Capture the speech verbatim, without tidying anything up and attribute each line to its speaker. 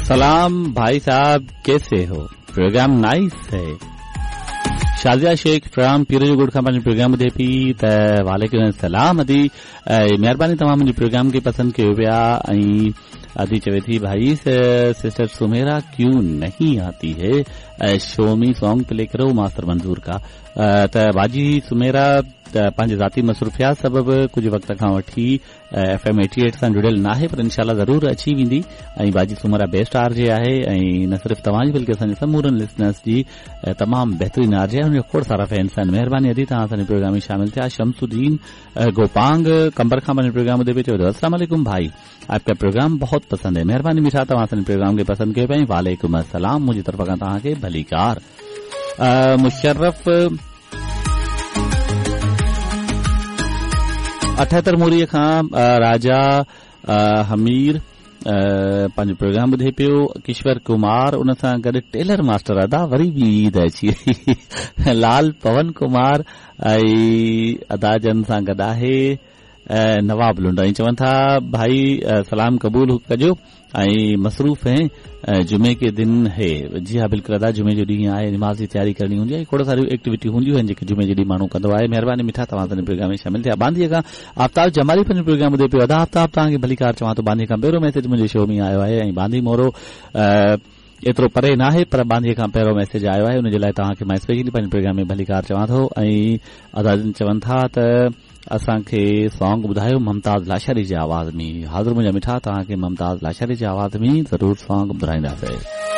Speaker 1: सलाम भाई साहब, कैसे हो? प्रोग्राम नाइस है। शाजिया शेख फ्राम पीर जो ॻोठ खां पंहिंजो प्रोग्राम ॿुधे पई त वालेकुम सलाम अदी, महिरबानी तव्हां मुंहिंजे प्रोग्राम खे पसंदि कयो पिया। ऐं अदी चवे थी भाई सिस्टर सुमेरा क्यों नहीं आती है, शोमी सॉन्ग प्ले करो मास्टर मंजूर का। त बाजी सुमेरा त पंहिंजे ज़ाती मसरूफ़ियात सबबु कुझु वक़्त खां वठी एफ एम एटी एट सां जुड़ियल न आहे, पर इंशाल्लाह ज़रूरु अची वेंदी। ऐं बाजी सुमेरा बेस्ट आर जे आहे ऐं न सिर्फ़ु तव्हांजी बल्कि असांजे समूरनि लिसनर्स जी तमामु बहितरीन आर जे आहे, हुनजा खोड़ सारा फैंस आहिनि। महिरबानी अदी तव्हां असांजे प्रोग्राम में शामिल थिया। शमसुद्दीन गोपांग कंबर खां पंहिंजो प्रोग्राम ॿुधे पियो, चयो अस्सलाम वालेकुम भाई, आपका प्रोग्राम बहुत पसंद है। महिरबानी मीठा, तव्हां असांजे प्रोग्राम खे पसंदि कयो पिया। वालेकुम अस्सलाम, मुंहिंजी तरफ़ खां तव्हांखे भलीकार। मुशर्रफ अठहतरि मोरीअ खां राजा हमीर पंहिंजो प्रोग्राम ॿुधे पियो। किश्वर कुमार उन सां गॾु टेलर मास्टर अदा वरी बि ईद अची वई। लाल पवन कुमार ऐं अदा जन सां गॾु आहे नवाब लुंड। ऐं चवनि था भाई सलाम कबूल कजो ऐं मसरूफ़ हैं, जुमे के दिन है। जी हा बिल्कुलु अदा, जुमे जो ॾींहुं आहे, नमाज़ जी तयारी करणी हूंदी आहे, खोड़ सारियूं एक्टिविटी हूंदियूं आहिनि जेके जुमे जे ॾींहुं माण्हू कंदो आहे। महिरबानी मिठा, तव्हां असांजे प्रोग्राम में शामिल थिया। बांदीअ खां आफ़ताब जमाली पंहिंजो प्रोग्राम ॿुधे पियो। अदा आफ़ताब, तव्हांखे भलीकार चवां थो। बांदीअ खां पहिरियों मैसेज मुंहिंजे शो में आयो आहे ऐं बांदी मोरो एतिरो परे न आहे, पर बांदीअ खां पहिरियों मैसेज आयो आहे, उनजे लाइ तव्हांखे मां स्पेशली पंहिंजे प्रोग्राम में भलीकार चवां थो। ऐं अदा जन चवनि था त असांखे सॉन्ग ॿुधायो मुमताज़ लाशारी जे आवाज़ में। हाज़िर मुंहिंजा मिठा, तव्हांखे मुमताज़ लाशारी जे आवाज़ में ज़रूरु सॉन्ग ॿुधाईंदासीं।